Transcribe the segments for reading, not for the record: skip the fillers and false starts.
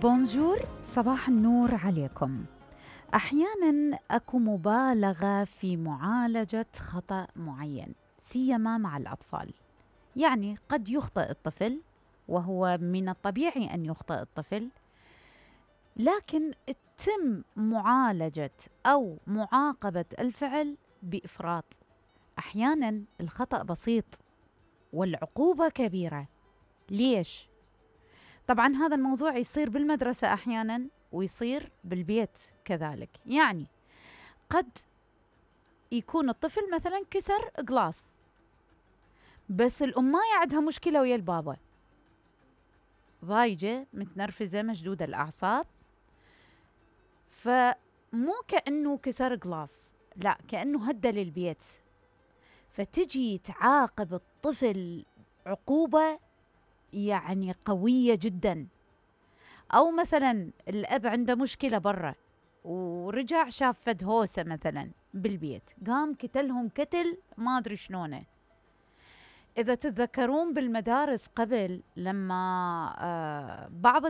بونجور، صباح النور عليكم. أحياناً أكو مبالغة في معالجة خطأ معين، سيما مع الأطفال. يعني قد يخطئ الطفل، وهو من الطبيعي أن يخطئ الطفل، لكن تم معالجة أو معاقبة الفعل بإفراط. أحياناً الخطأ بسيط والعقوبة كبيرة. ليش؟ طبعاً هذا الموضوع يصير بالمدرسة أحياناً ويصير بالبيت كذلك. يعني قد يكون الطفل مثلاً كسر قلاص، بس الأماية عندها مشكلة ويا البابا، ضايجة متنرفزة مشدودة الأعصاب، فمو كأنه كسر قلاص، لا كأنه هدى للبيت، فتجي تعاقب الطفل عقوبة يعني قوية جدا. أو مثلا الأب عنده مشكلة برا ورجع شاف فد هوسة مثلا بالبيت، قام كتلهم كتل ما أدري شلونه. إذا تتذكرون بالمدارس قبل لما بعض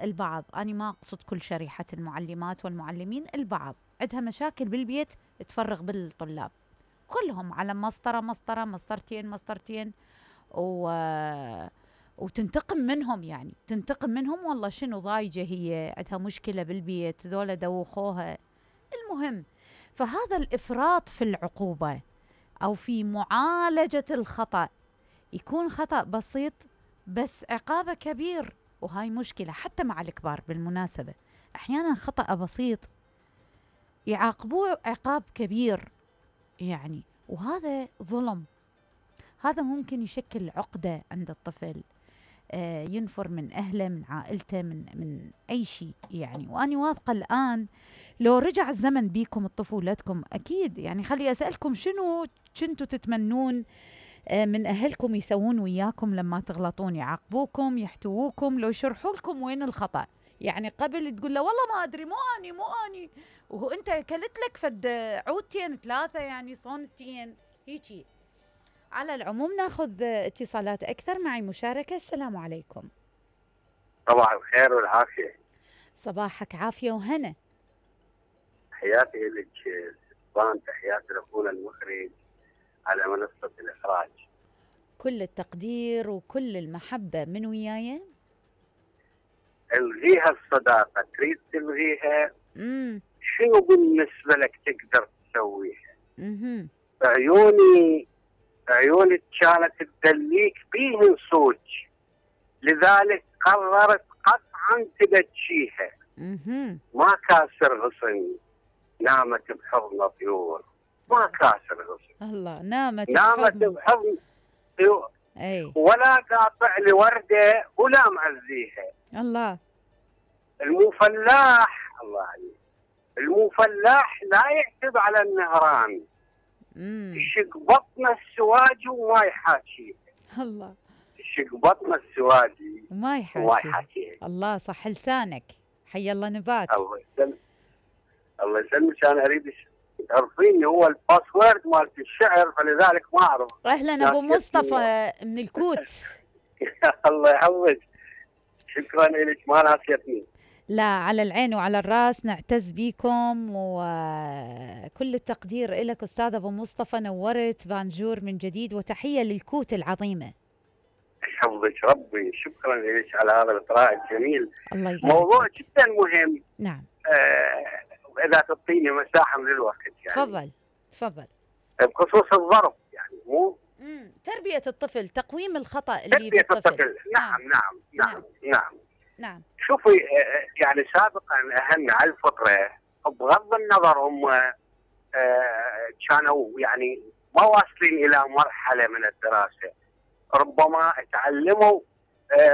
البعض أنا ما أقصد كل شريحة المعلمات والمعلمين، البعض عندها مشاكل بالبيت تفرغ بالطلاب كلهم على مسطرتين وتنتقم منهم، يعني تنتقم منهم. والله شنو ضايجة، هي عندها مشكلة بالبيت، ذولا دوخوها. المهم، فهذا الإفراط في العقوبة أو في معالجة الخطأ، يكون خطأ بسيط بس عقابه كبير، وهاي مشكلة حتى مع الكبار بالمناسبة. أحيانا خطأ بسيط يعاقبوه عقاب كبير يعني، وهذا ظلم. هذا ممكن يشكل عقدة عند الطفل، ينفر من أهله، من عائلته، من أي شيء يعني. وأنا واثقة الآن لو رجع الزمن بيكم طفولتكم، أكيد يعني خلي أسألكم شنو كنتوا تتمنون من أهلكم يسوون وياكم لما تغلطون؟ يعاقبوكم، يحتووكم، لو يشرحوا لكم وين الخطأ؟ يعني قبل تقول له والله ما أدري، مو أني وهو أنت كلت لك فد عودتين 3 يعني صونتين هيجي. على العموم ناخذ اتصالات أكثر. معي مشاركة. السلام عليكم. صباح الخير والعافية. صباحك عافية وهنا. تحياتي لك سلطان، تحياتي لأخونا المخرج على منصة الإخراج. كل التقدير وكل المحبة من وياي. الغيها الصداقة، تريد تلغيها؟ شنو بالنسبة لك تقدر تسويها؟ عيوني كانت تدليك بيهن صوج، لذلك قررت قطعا تبتشيها. ما كاسر غصن، نامت بحضن طيور. ما كاسر غصن، الله، نامت بحضن طيور. أي. ولا قاطع لي وردة ولا معزيها. الله. المفلاح، الله عليك، المفلاح لا يعتب على النهران، يشق بطن السواج وما يحاكيه. الله. يشق بطن السواج وما يحاكيه. الله، صح لسانك، حي الله نباك. الله يسلمك، الله يسلمك. انا اريد تعرفيني هو الباسورد مالت الشعر، فلذلك ما اعرف. اهلا ابو مصطفى من الكوت. الله يحفظك، شكرا لك، ما ناسيتني. لا، على العين وعلى الراس، نعتز بيكم وكل التقدير لك أستاذ أبو مصطفى. نورت بانجور من جديد، وتحية للكوت العظيمة. يحفظك ربي، شكرا لك على هذا الإطراء الجميل. الله يبارك. موضوع جدا مهم. نعم. إذا تعطيني مساحة من الوقت يعني. تفضل. بخصوص الظرف يعني، مو تربية الطفل، تقويم الخطأ اللي تربية الطفل. نعم. شوفي، يعني سابقا أهلنا على الفطرة بغض النظر هم كانوا يعني ما واصلين إلى مرحلة من الدراسة، ربما تعلموا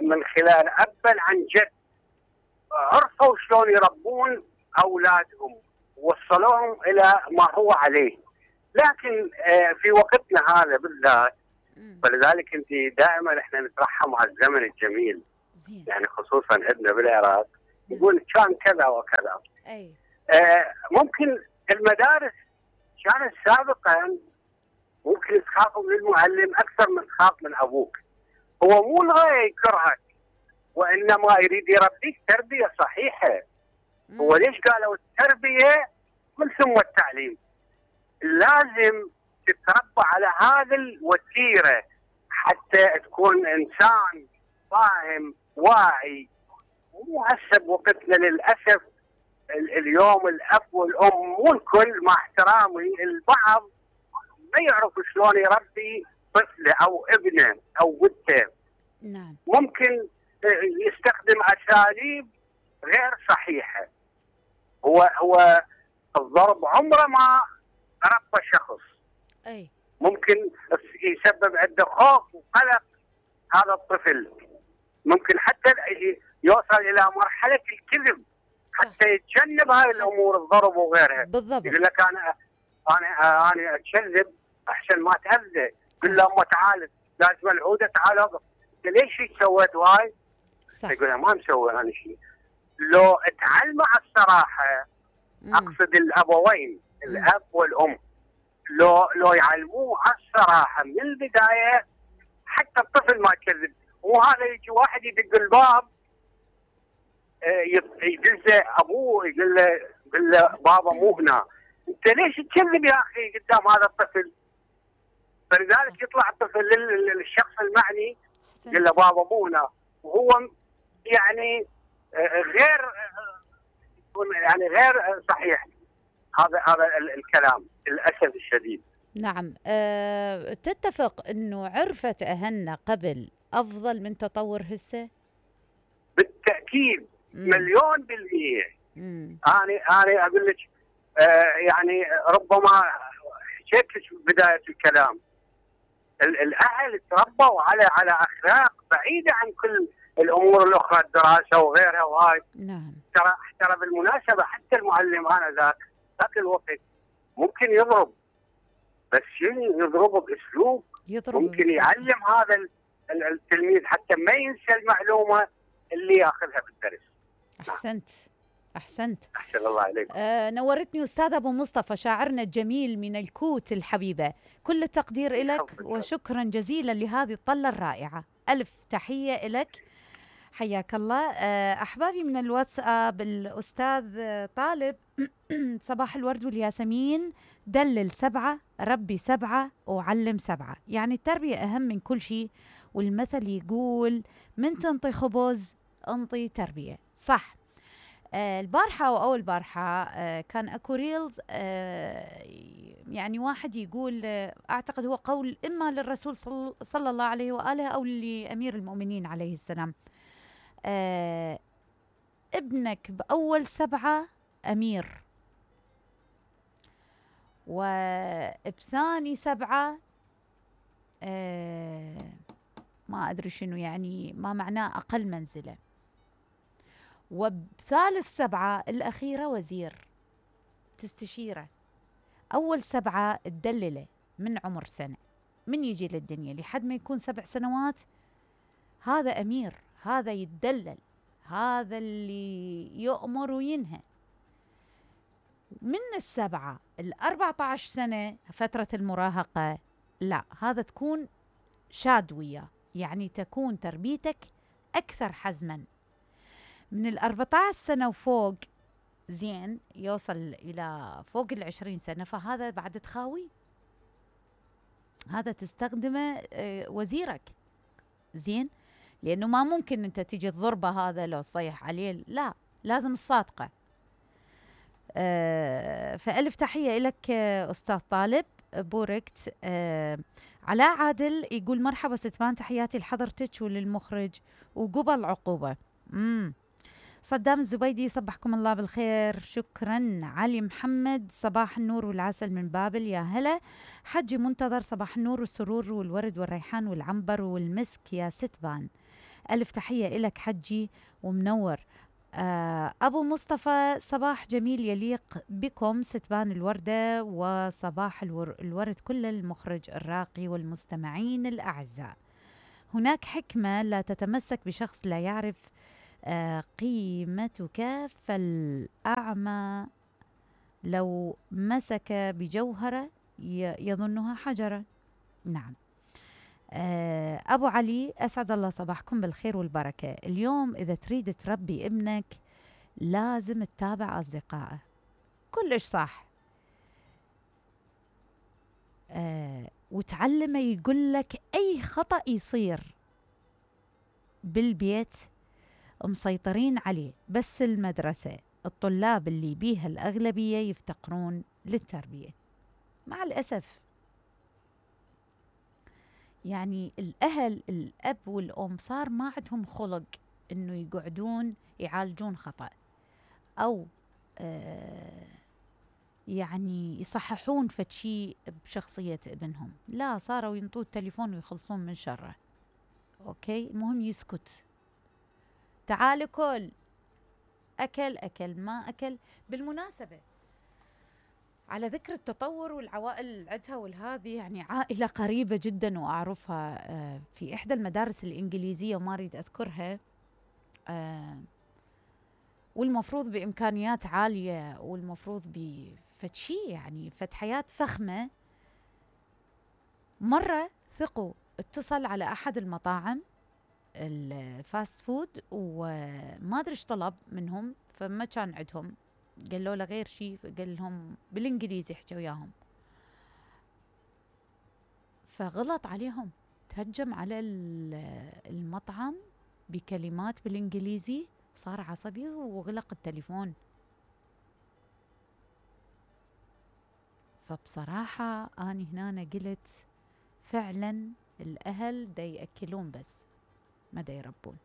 من خلال أبا عن جد، عرفوا شلون يربون أولادهم، وصلوهم إلى ما هو عليه. لكن في وقتنا هذا بالذات، فلذلك انت دائما احنا نترحم على الزمن الجميل. يعني خصوصا عندنا بالعراق يقول كان كذا وكذا. أي. ممكن المدارس كانت سابقا ممكن تخاف من المعلم اكثر من تخاف من ابوك. هو مو الغايه يكرهك، وإنما يريد يربيك تربية صحيحة. هو ليش قالوا التربية من ثم التعليم؟ لازم تتربى على هذه الوتيرة حتى تكون إنسان فاهم واعي. مو هسه بوقتنا للأسف اليوم الأب والأم مو الكل، مع احترامي، البعض ما يعرف شلون يربي طفله أو ابنه أو بنته. نعم. ممكن يستخدم أساليب غير صحيحة. هو الضرب عمره ما ربى شخص. أي. ممكن يسبب عنده خوف وقلق هذا الطفل، ممكن حتى يوصل إلى مرحلة الكذب حتى يتجنب هاي الأمور، الضرب وغيرها. بالضبط. يقول لك أنا أتكذب أحسن ما تأذى. قل له أمه تعال لازم العودة تعال أقف. ليش سويت هاي؟ يقول له ما مسوي أنا شيء. لو تعلموا على الصراحة، أقصد الأبوين الأب والأم، لو يعلموه على الصراحة من البداية حتى الطفل ما يكذب. وهذا يجي واحد يدق الباب يدزه أبوه يقول له بابا مو هنا. أنت ليش تكذب يا أخي قدام هذا الطفل؟ فلذلك يطلع الطفل للشخص المعني يقول له بابا مو هنا، وهو يعني غير صحيح هذا الكلام للأسف الشديد. نعم. تتفق انه عرفة اهلنا قبل افضل من تطور هسه؟ بالتأكيد. مليون بالمية. أنا أقول لك يعني ربما حكيت لك بداية الكلام، الأهل تربوا على أخلاق بعيدة عن كل الأمور الأخرى، الدراسة وغيرها وهاي. نعم. ترى بالمناسبة حتى المعلم ذاك الوقت ممكن يضرب، بس يضربه بأسلوب ممكن يعلم هذا التلميذ حتى ما ينسى المعلومة اللي ياخذها بالدرس. أحسنت. أحسن الله عليك. نورتني أستاذ أبو مصطفى، شاعرنا الجميل من الكوت الحبيبة. كل التقدير لك وشكرا جزيلا لهذه الطلة الرائعة. ألف تحية لك، حياك الله. أحبابي من الواتساب، الأستاذ طالب صباح الورد والياسمين، دلل 7 ربي 7 وعلم 7. يعني التربية أهم من كل شيء، والمثل يقول من تنطي خبز انطي تربية. صح. البارحة أو أول بارحة كان أكو ريلز، يعني واحد يقول أعتقد هو قول إما للرسول صلى الله عليه وآله أو لأمير المؤمنين عليه السلام، ابنك بأول 7 أمير، وبثاني 7 ما أدري شنو يعني، ما معناه أقل منزلة، وبثالث 7 الأخيرة وزير تستشيره. أول 7 تدلله من عمر سنة، من يجي للدنيا لحد ما يكون 7 سنوات، هذا أمير، هذا يتدلل، هذا اللي يؤمر وينهى. من 7 ل 14 سنة فترة المراهقة، لا، هذا تكون شاد وياه، يعني تكون تربيتك أكثر حزما. من 14 سنة وفوق زين، يوصل إلى فوق 20 سنة، فهذا بعد تخاوي، هذا تستخدمه وزيرك زين، لأنه ما ممكن أنت تيجي تضربه هذا لو صيح عليه، لا، لازم الصادقة. فألف تحية لك أستاذ طالب، بوركت. علاء عادل يقول مرحبا ستمان، تحياتي لحضرتك وللمخرج وقبل عقوبة. صدام الزبيدي صبحكم الله بالخير، شكرا. علي محمد صباح النور والعسل من بابل، يا هلا. حجي منتظر صباح النور والسرور والورد والريحان والعنبر والمسك يا ستبان. ألف تحية إلك حجي ومنور. أبو مصطفى صباح جميل يليق بكم ستبان الوردة، وصباح الورد كل المخرج الراقي والمستمعين الأعزاء. هناك حكمة لا تتمسك بشخص لا يعرف قيمتك، فالأعمى لو مسك بجوهرة يظنها حجرا. نعم. أبو علي، أسعد الله صباحكم بالخير والبركة. اليوم إذا تريد تربي ابنك لازم تتابع أصدقائه. كلش صح. وتعلمه يقول لك أي خطأ يصير بالبيت مسيطرين عليه، بس المدرسة الطلاب اللي بيها الأغلبية يفتقرون للتربية مع الأسف. يعني الأهل، الأب والأم صار ما عندهم خلق إنه يقعدون يعالجون خطأ أو يعني يصححون فشي بشخصية ابنهم. لا، صاروا ينطوا التليفون ويخلصون من شره. أوكي، المهم يسكت. تعال كل، أكل ما أكل. بالمناسبة، على ذكر التطور والعوائل اللي عندها والهذه، يعني عائلة قريبة جدا وأعرفها في إحدى المدارس الإنجليزية وما أريد أذكرها، والمفروض بإمكانيات عالية والمفروض بفتشي يعني حياة فخمة. مرة ثقوا اتصل على أحد المطاعم الفاست فود وما أدري ايش طلب منهم، فما كان عندهم، قالوا له غير شيء، قال لهم بالإنجليزي، حكى وياهم، فغلط عليهم، تهجم على المطعم بكلمات بالإنجليزي، صار عصبي وغلق التليفون. فبصراحة أنا هنا قلت فعلا الأهل دا يأكلون بس ما دا يربون.